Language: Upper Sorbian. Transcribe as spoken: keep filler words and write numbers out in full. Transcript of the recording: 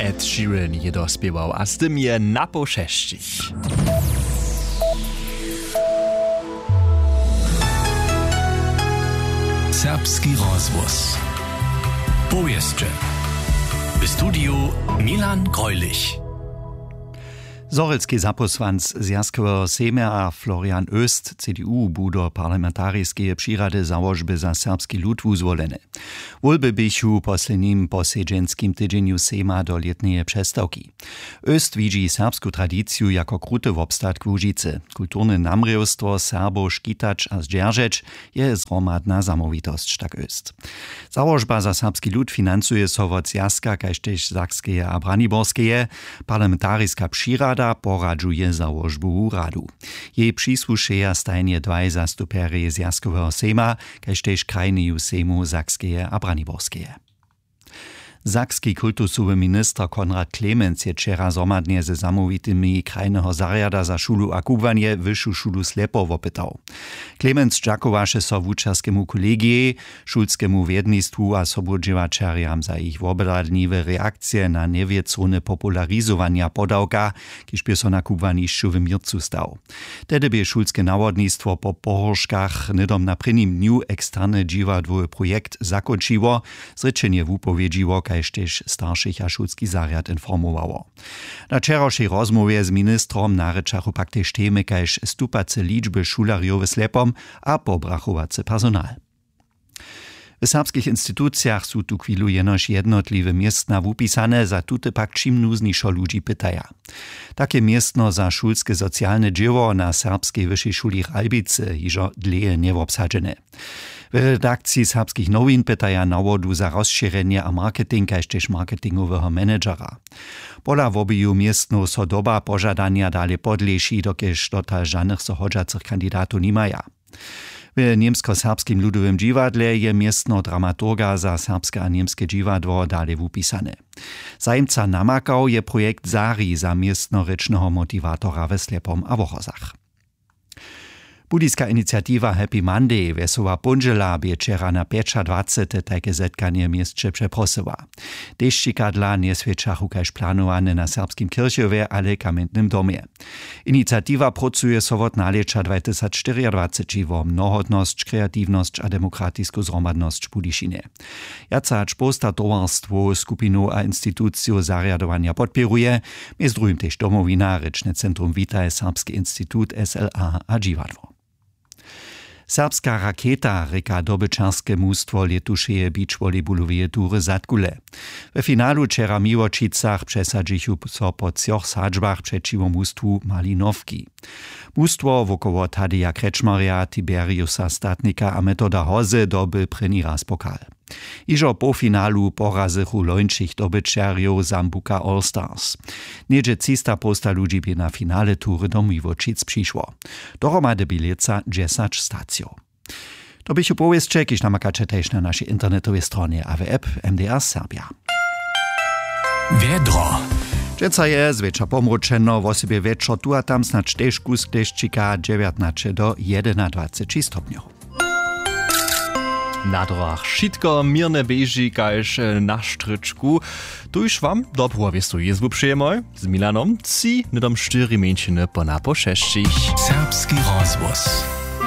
Ed Sheeran je dospěwał a z tym je na poł šesćich. Serbski rozhłos. Powěsće. W studiju Milan Greulich. Zhorjelski zapósłanc Zwjazkoweho sejma Florian Oest, C D U, bu do parlamentariskeje přirady załožby za serbski lud wuzwoleny. Wólby běchu w poslednim posedźenskim tydźenju sejma do lětneje přestawki. Oest widźi serbsku tradiciju jako kruty wobstatk Łužicy. Kulturne namrěwstwo Serbow škitać a zdźeržeć je zhromadna zamołwitosć, tak Oest. Załožba za serbski lud financuje so wot Zwjazka kaž tež Sakskeje a Braniborskeje. Parlamentariska přirada poradźuje załožbowu radu. Jej přisłušeja stajnje dwaj zastupjerjej Zwjazkoweho sejma kaž tež krajneju sejmow Sakskeje a Braniborskeje. Sakski kultusowy minister Konrad Clemens je wčera zhromadnje ze zamołwitymi krajneho zarjada za šulu a kubłanje Wyšu šulu Slepo wopytał. Clemens dźakowaše so wučerskemu kolegijej, šulskemu wjednistwu a sobudźěłaćerjam za jich wobhladniwe reakcije na njewěcowne popularizowanja podawka, kiž bě so na kubłanišću w měrcu stał. Tehdy bě šulske nawodnistwo po pohórškach hnydom na prěnim dnju eksterne dźiwadłowy projekt zakónčiło, zrěčenje wupowědźiło kaž tež staršich a šulski zarjad informowało. Na wčerawšej rozmołwje z ministrom narěčachu pak tež temy kaž stupace ličby šulerjow w Slepom a pobrachowacy personal. W serbskich institucijach su tuchwilu jenož jednotliwe městna wupisane, za tute pak čim nuznješo ludźi pytaja. Take městno za šulske socialne dźěło na serbskej wyšej šuli Ralbicy hižo dlěje njewobsadźene. W redakciji Serbskich nowin pytaja nawodu za rozšěrjenje a marketing kaž tež marketingoweho managera. Pola wobeju městnow so doba požadanja dale podleši, dokelž dotal žanych so hodźacych kandidatow nimaja. W němskoserbskim ludowym dźiwadle je městno dramaturga za serbske a němske dźiwadło dale wupisane. Zajimca namakał je projekt Zari za městnorěčneho motiwatora we Slepom a Wochozach. Budyska iniciatiwa Happy Monday wjesoła póndźěla bě wčera na pjećadwacete tajke zetkanje w měsće přeprosyła. Dešćikadla njeswjećachu kaž planowane na serbskim kirchewje ale kamjentnym domje. Iniciatiwa prócuje so wot nalěća dwajtysacštyriadwaceći wo mnohotnosć, kreatiwnosć a demokratisku zhromadnosć w Budyšinje. Wjace hač połsta towarstwow, skupinow a institucijow zarjadowanja podpěruje, mjez druhim tež Domowina, rěčne centrum Witaj, Serbski institut, S L A a dźiwadło. Serbska raketa rěka dobyćerske mustwo lětušeje beachvolleyballoweje tury Zadkule. We finalu wčera w Miłočicach přesadźichu so po třoch sadźbach přećiwo mustwu Malinowki. Mustwo wokoło Tadeja Krečmarja, Tiberiusa Statnika a Metoda Hozy doby prěni raz pokal. Hižo w połfinalu porazychu lońšich dobyćerjow Zambuca All Stars. Něhdźe třista połsta ludźi bě na finale tury do Miłočic přišło. Dohromady bě lětsa dźesać stacijow. To běchu powěsće, kiž namakaće tež na našej internetowej stronje a w app M D R Serbja. Wjedro. Dźensa je zwjetša pomróčeno, wosebje wječor tu a tam snadź tež kusk dešćika, dźewjatnaće do jedynadwaceći stopnjow. Na drogach wšitko měrnje běži kaž na štrěčku. Tuž wam dobru a wěstu jězbu přejemoj z Milanom tři hnydom štyri mjeńšiny po napoł šesćich. Serbski rozhłos.